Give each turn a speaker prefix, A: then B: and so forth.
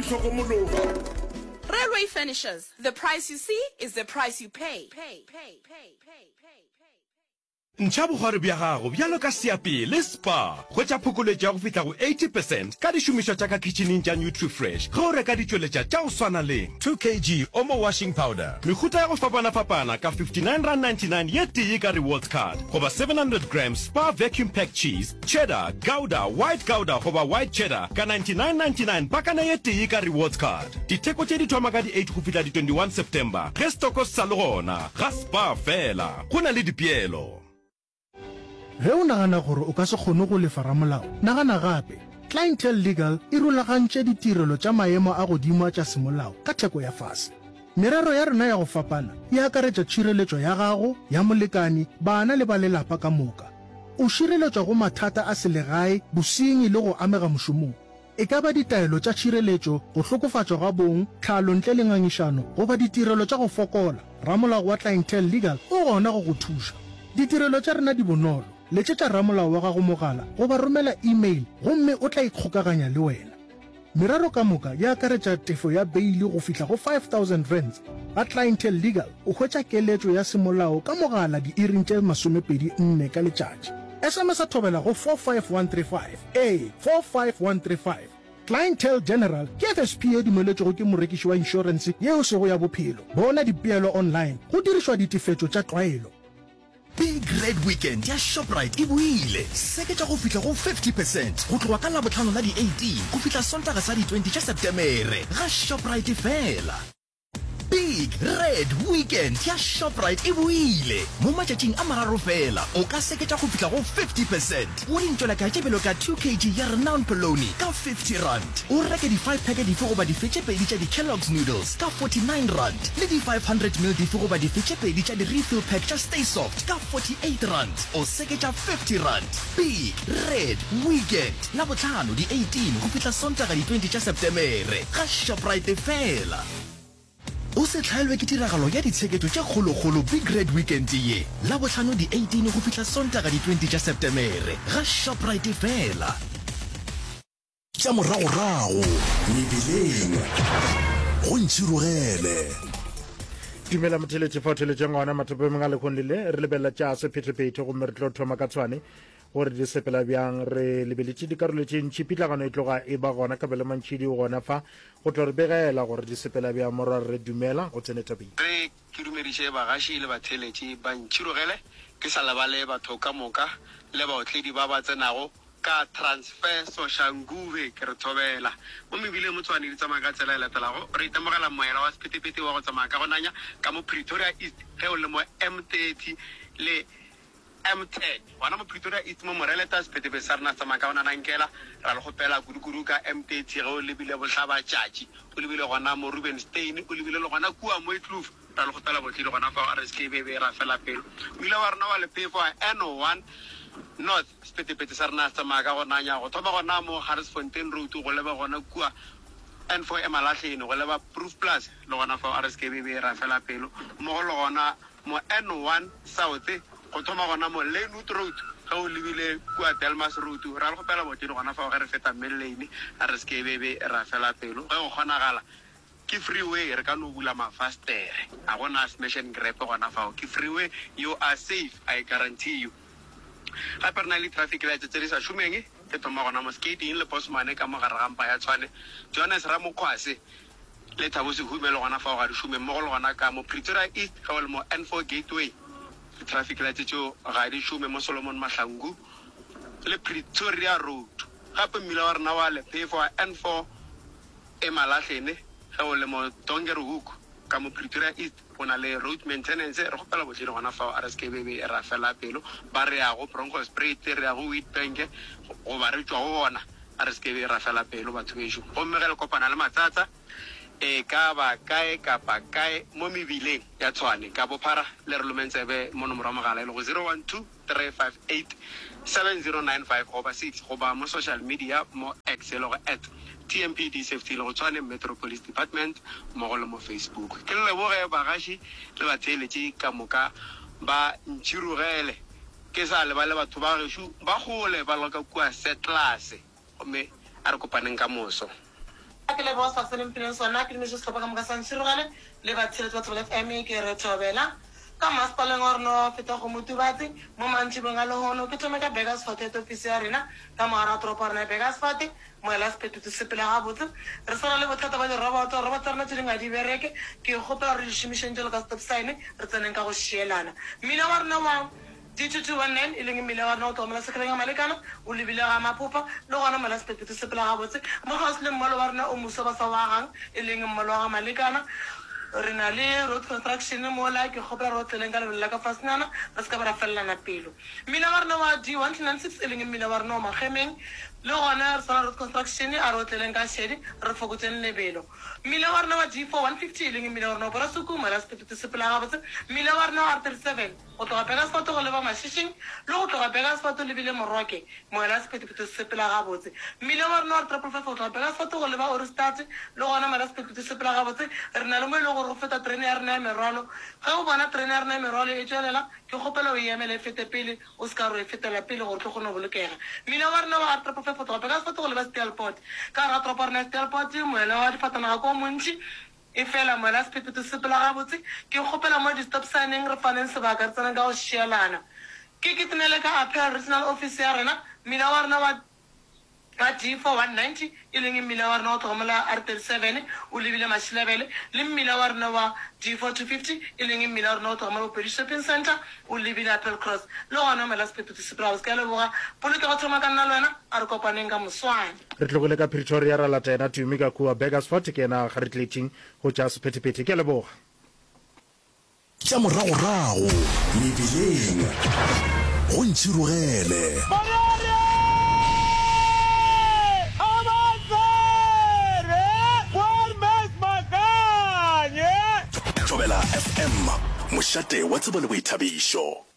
A: ntlhokomologa.
B: Railway Furnishers, the price you see is the price you pay.
C: Ntšha bokgwari bja gago bjalo ka seapee le Spar. Hwetša phokoletšo ya go fihla go 80 percent ka dišomišwa tša ka khitšhining tša Nutrifresh ge o reka ditšweletša tša go swana le. 2 kg Omo washing powder, mehuta ya go fapanafapana ka R59.99 ye tee ka rewards card, goba 700 grams Spar vacuum packed cheese, cheddar, gouda, white gouda goba white cheddar ka R99.99 pakana ye tee ka rewards card. Ditheko tše di thoma ka di 8 go fihla di 21 September ge stoko se sa le gona ga Spar fela. Go na le dipeelo.
D: Ge o nagana gore o ka se kgone go lefa ramolao, nagana gape. Clientele Legal e rulagantše ditirelo tša maemo a godimo a tša semolao ka theko ya fase. Merero ya rena ya go fapana e akaretša tšhireletšo ya gago, ya molekani, bana le ba lelapa ka moka. O šireletšwa go mathata a selegae, bosenyi le go amega mošomong. E ka ba ditaelo tša tšhireletšo, go hlokofatšwa ga bong, tlhalo ntle le ngangišano, goba ditirelo tša go fokola, ramolao wa Clientele Legal o gona go go thuša. Ditirelo tša rena di bonolo, letšetša ramolao wa gago mogala goba romela e-mail gomme o tla ikgokaganya le wena. Merero ka moka e akaretša tefo ya beili go fihla go R5000. Ga Clientele Legal o hwetša keletšo ya semolao ka mogala diiring tše 24 ka letšatši. SMS-a thobela go 45135. Ee, 45135. Clientele General ke FSP ye dumeletšwego ke morekiši wa inšorense ye e sego ya bophelo. Bona dipeelo online go dirišwa ditefetšo tša tlwaelo.
E: Big Red Weekend ya Shoprite e boile! Seketša go fihla go 50 percent go tloga ka Labohlano la di 18 go fihla Sontaga sa di 20 tša Setemere ga Shoprite fela. Big Red Weekend ya Shoprite e boile! Mo matšatšing a mararo fela, o ka seketša go fihla go 50 percent go dintšwelakae tše bjalo ka 2 kg ya Renown Polony ka R50, o reke di-five pack dife goba dife tše pedi tša di-Kellogg's Noodles ka R49 le di-500 ml dife goba dife tše pedi tša di-refill pack tša Stay Soft ka R48, o seketša R50. Big Red Weekend, Labohlano di 18 go fihla Sontaga di 20 tša Setemere ga Shoprite fela. O se hlaelwe ke tiragalo ya ditsheketšo tše kgolokgolo Big Red Weekend ye, Labohlano di 18 go fihla Sontaga di 20 tša Setemere, ga Shoprite fela.
F: Tša moragorago mebileng go ntšhirogele.
G: Dumela motheletši fa o theletšeng gona mathopemeng a lehono le le re lebelela tša sephethephethe gomme re tlo thoma ka tshwane Gore di sepela bjang, re lebeletše dikarolo tše ntši. Pitlagano e tloga e ba gona. Kabelo Mantšhidi o gona fa go tlo re begela gore di sepela bjang. Morwa rre Dumela o tsene tabeng.
H: Re ke dumediše bagaši le batheeletši ba Ntšhirogele, ke sa lebale batho ka moka le baotledi ba ba tsenago ka Transfer Soshanguve. Ke re thobela. Mo mebileng mo Tshwane di tsamaya ka tsela e latelago. Re itemogela moela wa sephethephethe wa go tsamaya ka go nanya ka mo Pretoria East ge o le mo M30 le M10, Gona mo Pretoria East mo Moreleta, sephethephethe sa rena se tsamaya ka go nanankela. Ra le kgopela kudu-kudu ka M30 ge o lebile bohlabatšatši, o lebile gona mo Rubenstein, o lebile le gona kua Mooikloof. Ra le kgopela botlile gona fao, a re se ke be be ra fela pelo. Mmila wa rena wa lephefo wa N1 North, sephethephethe sa rena se tsamaya ka go nanya go thoma gona mo Garsfontein Road go leba gona kua N4 Emalahleni go leba Proefplaas, le gona fao a re se ke be be ra fela pelo. Mmogo le gona Mo N1 South, go thoma gona mo Lynnwood Road ge o lebile kua Delmas Road. Ra le kgopela botledi gona fao ge re feta Mill Lane, a re se ke be be ra fela pelo. Ge go kgonagala, ke freeway, re ka no bula mafastere. Ga go na smash and grab gona fao, ke freeway, you are safe, I guarantee you. Gape re na le di-traffic lights tse di sa šomeng, ke thoma gona mo Skeiding le Bosmane ka mo gare ga mpa ya Tshwane, Johannes Ramokgwase, le Thabo Sehume le gona fao ga di šome mmogo le gona ka mo Pretoria East ge o le mo N4 Gateway di traffic lights tšeo ga di šome mo Solomon Mahlangu le Pretoria Road. Gape mmila wa rena wa lephefo wa N4 e Malahlene ge o le mo Donkerhoek ka mo Pretoria East go na le road maintenance re kgopela botledi gona fao a re se ke be be ra fela pelo ba re yago Bronkhorstspruit re yago Witbank goba re tšwago gona A re se ke be ra fela pelo, batho bešo. Gomme ge le kopana le matsatsa, e ka ba kae kapa kae mo mebileng ya Tshwane ka bophara, le re lomeng tsebe mo nomoro ya mogala e lego 012-358-7095 goba 6, goba mo social media mo X e lego at TMPD Safety e lego Tshwane Metro Police Department mmogo le mo Facebook. Ke le leboge bagaši le batheeletši ka moka ba ntšhirogele. Ke sa lebale batho ba gešo ba kgole ba lego ka kua Setlase. Gomme a re kopaneng ka moso.
A: Ke leboga sebaka se le mphileng sona, ke dumeše sehlopha ka moka sa Ntšhirogele le batheeletši ba Thobela FM, ke re thobela ka masepaleng wa rena wa feta go Motubatse mo mantšibong a lehono. Ke thome ka Burgersfort head office ya rena ka mogare ga toropo ya rena ya Burgersfort, moela sephethephethe se sepela gabotse. Re sa na le bothata ba diroboto, roboto tsa rena tše dingwe ga di bereke, ke kgopela gore re di šomišeng jwalo ka stop sign, re tseneng ka go šielana. Mmila wa rena wa. D2219, e leng mmila wa rena go tloga mola Sekgeleng ya Malekana o lebile ga Maphopha, le gona mola sephethephethe se sepela gabotse. Mo kgauswi le mmolo wa rena o moswa ba sa o agang, e leng mmolo wa ga Malekana, re na le road construction mola. Ke kgopela re otleleng ka lebelo la ka fasenyana, re se ka ba ra felelana pelo. Mmila wa rena wa D1296, e leng mmila wa rena wa Makgemeng, le gona re sa na road construction, a re otleleng ka šedi, re fokotšeng lebelo. Mmila wa rena wa D4150, e leng mmila wa rena wa Borasuku, mola sephethephethe se sepela gabotse. Mmila wa rena wa R37, Go tloga Burgersfort go leba Mashishing le go tloga Burgersfort o lebile Moroke, moela sephethephethe se sepela gabotse. Mmileng wa rena wa R 555 go tloga Burgersfort go leba Ohrigstad le gona moela sephethephethe se sepela gabotse. Re na le mo e lego gore go feta terene ya rena ya merwalo. Ge o bona terene ya rena ya merwalo e tšwelela, ke kgopela o e emele e fete pele, o se ka re o e fetela pele gore o tlo kgone go bolokega. Mmila wa rena wa R 555 go tloga Burgersfort go leba Steelpoort, ka gare ga toropo ya rena ya Steelpoort, moela wa difatanaga ke o montši. Efela mola sephethephethe se sepela gabotse, ke kgopela mo di-stop sign-eng re faneng sebaka re tseneng ka go šielana. Ke kitimele ka Appeal Regional Office ya rena, mmila wa rena wa wa D4190, e leng mmila wa rena wa go tloga mola R37 o lebile Mashilabele, le mmila wa rena wa D4250, e leng mmila wa rena wa go tloga mola Bopedi Shopping Centre o lebile Appeal Cross. Le gona mola sephethephethe se sepela gabotse. Ke a leboga. Polokego thoma ka nna le wena, a re kopaneng ka moswane.
G: Re tlogile ka Pretoria ra lata yena Tumi ka kua Burgersfort, ke yena Garetleting go tša sephethephethe. Ke a leboga.
F: Tša moragorago mebileng go ntšhirogele. Thobela FM, mošate wa tsebo le boithabišo.